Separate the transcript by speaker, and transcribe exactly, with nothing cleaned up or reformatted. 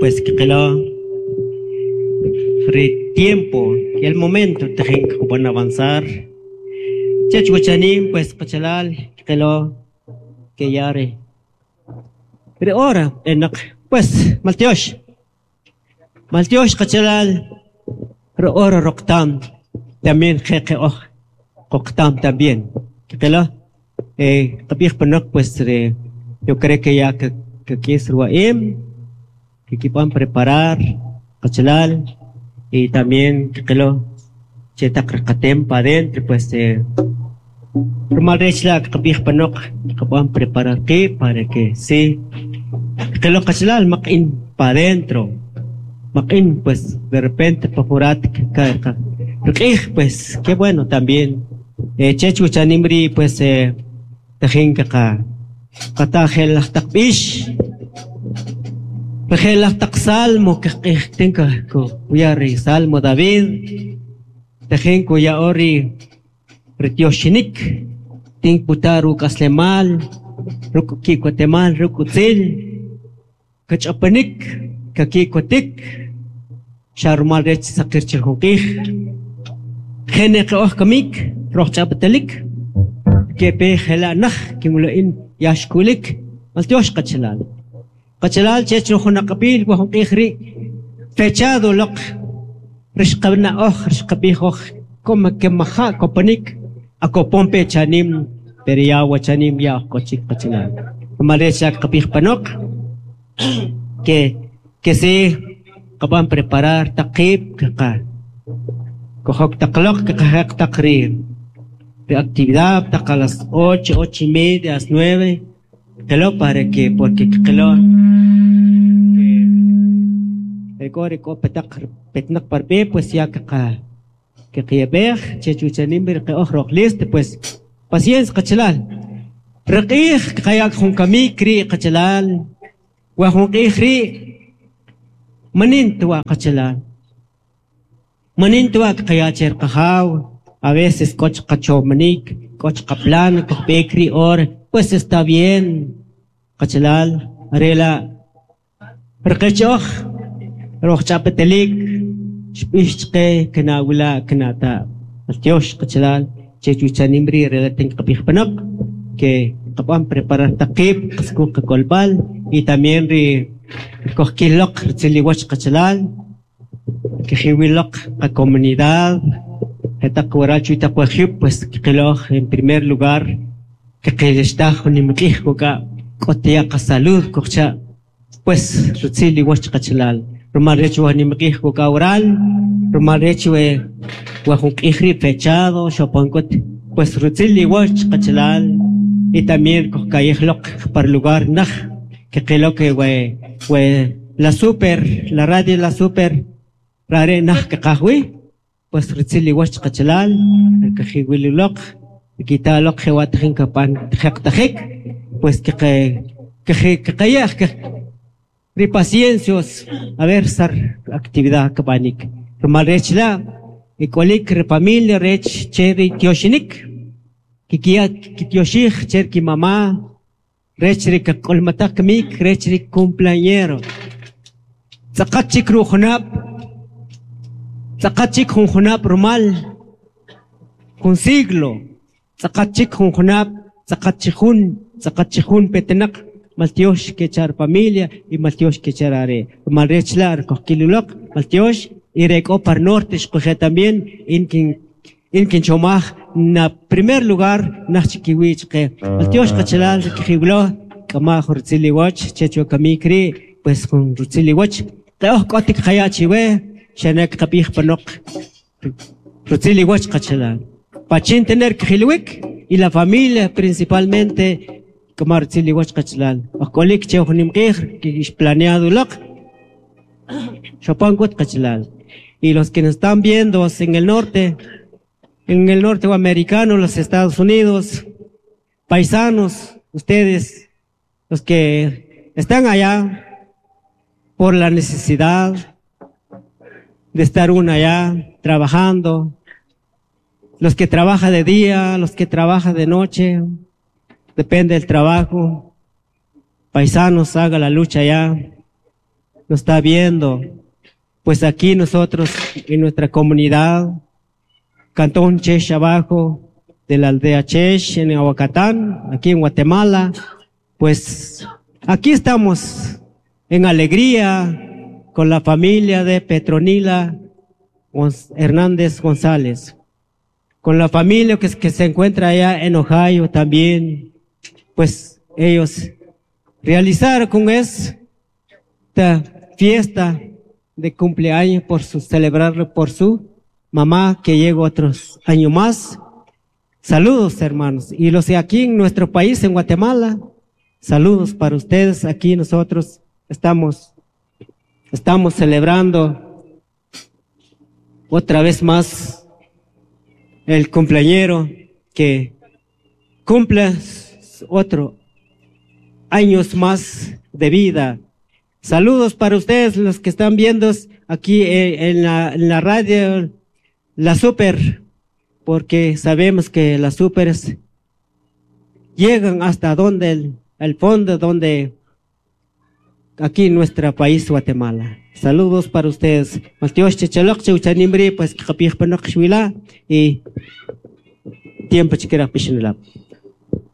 Speaker 1: pues kqilo ri tiempo y el momento tajin kb'an avanzar chech wachanim pues qachalal kqilo ke ya ri ri hora b'enaq pues maltyox maltyox qachalal ri hora roqtam también qe oj qoqtam también kqilo eh qab'ij panoq pues ri yo creo que ya kak'is riwa'im kikib'an preparar qachalal y también kqilo che taq riqatem pa adentro pues eh rumal rech la' qab'ij panoq qab'an preparar qib' para que si kqilo qachalal maq'in pa adentro maq'in pues de repente pa jurat riq'ij pues qué bueno también eh chech wachanim rii' pues eh tajin qaqa qata je'laj taq b'ix je'laj taq salmo q'ij tinka kuya ri salmo David tajin kuya'o ri rityoxinik tin kuta ruk'aslemal ruk' ki'kotemal ruk' utzil kach'apanik kaki'kotik xa rumal rech saqir che jun q'ij jene q'oj kamik roj ch'apatalik kepe jela' naj kinwilo in yaxkulik maltyox qachalal qachalal chech jun aq'ab'il wa jun q'ij rii' fechado loq rixqab'na'oj rixqab'ij oj como que maja' kopanik akopon pe chanim pero ya wachanim ya oj k'o chik qachalal rumal rech xa qab'ij panoq que que si qab'an preparar taq qiib' qaqa kojok taq loq qaqajaq taq ri ri actividad taq a las ocho, ocho y media, a las nueve qilo para que porque qilo que k'o ri k'o petaq petnaq par b'e pues ya qaqa qiyab'ej chech wachanim ri q'oj roj listo pues paciencia qachalal riq'ij qaya' jun kamik rii' qachalal wa jun q'ij rii' manin tuwa qachalal manin tuwa qaya' che riqajaw a veces k'o qachomanik k'o qaplan kojb'eek rii' hora pues está bien qachalal are' la' riqech oj roj ch'apatalik xb'ix chaqe kinawila' kinata' maltyox qachalal chech wachanim rii' re tin qab'ij panoq que qab'an preparar taq qiib' qasku qak'olb'al y también ri kojkil loq ritzil iwach qachalal kijiwil loq qacomunidad jetaq waral chu taq wajib' pues qiloj en primer lugar kiqilixtaj jun nimq'ij kuk'a' k'o tiya' qasalud kujcha' pues ritzil iwach qachalal rumal rech wa nimq'ij kuk'a' waral rumal rech we wa jun q'ij rii' fechado xopon k'ut pues ritzil iwach qachalal y también kojka'yij loq par lugar naj kiqilo que we we la super la radio la super rare' naj kiqaj wi pues ritzil iwach qachalal kajiwil loq kita loq jewa' tajin kapan jeqtajik pues kiqe kiqayej ri paciencios a ver sar actividad kab'anik rumal rech la' ik'olik ri familia rech che ri tyoxinik kikiya' kityoxij che kimamá rech ri kak'ulmataj kamik rech ri cumpleañero tz'aqat chik rujunab' tz'aqat chik jun junab' rumal jun siglo tz'aqat chik jun junab' tz'aqat chik jun tz'aqat chik jun petinaq maltyox kechar familia y maltyox kechar are' rumal rech la' kojkil uloq maltyox y re k'o par norte xquje' también in kin in kinchomaj na primer lugar naj chikiwi' chaqe maltyox qachalal kijiwlo k'ama' jun ritzil iwach chech wa kamik rii' pues jun ritzil iwach q'oj k'otik qaya' chiwe xane' qab'ij panoq ritzil iwach qachalal pachin tener kijilwik y la familia principalmente k'ama' ritzil iwach qachalal oj k'olik che jun nimq'ij planeado loq xopon k'ut qachalal y los que nos están viendo en el norte en el norte americano, los Estados Unidos, paisanos, ustedes, los que están allá por la necesidad de estar uno allá trabajando, los que trabajan de día, los que trabajan de noche, depende del trabajo. Paisanos, haga la lucha allá. nos está viendo. Pues aquí nosotros, en nuestra comunidad, Cantón Chesh abajo, de la aldea Chesh, en Aguacatán, aquí en Guatemala, pues aquí estamos en alegría con la familia de Petronila Hernández González, con la familia que, que se encuentra allá en Ohio también, pues ellos realizaron con esta fiesta de cumpleaños por su, celebrarlo por su mamá que llegó otros años más. Saludos, hermanos. Y los de aquí en nuestro país, en Guatemala, saludos para ustedes. Aquí nosotros estamos, estamos celebrando otra vez más el cumpleañero que cumple otro años más de vida. Saludos para ustedes, los que están viendo aquí en la, en la radio, la Super, porque sabemos que las supers llegan hasta donde el, el fondo, donde aquí en nuestro país, Guatemala. Saludos para ustedes. Pues y tiempo chiquera.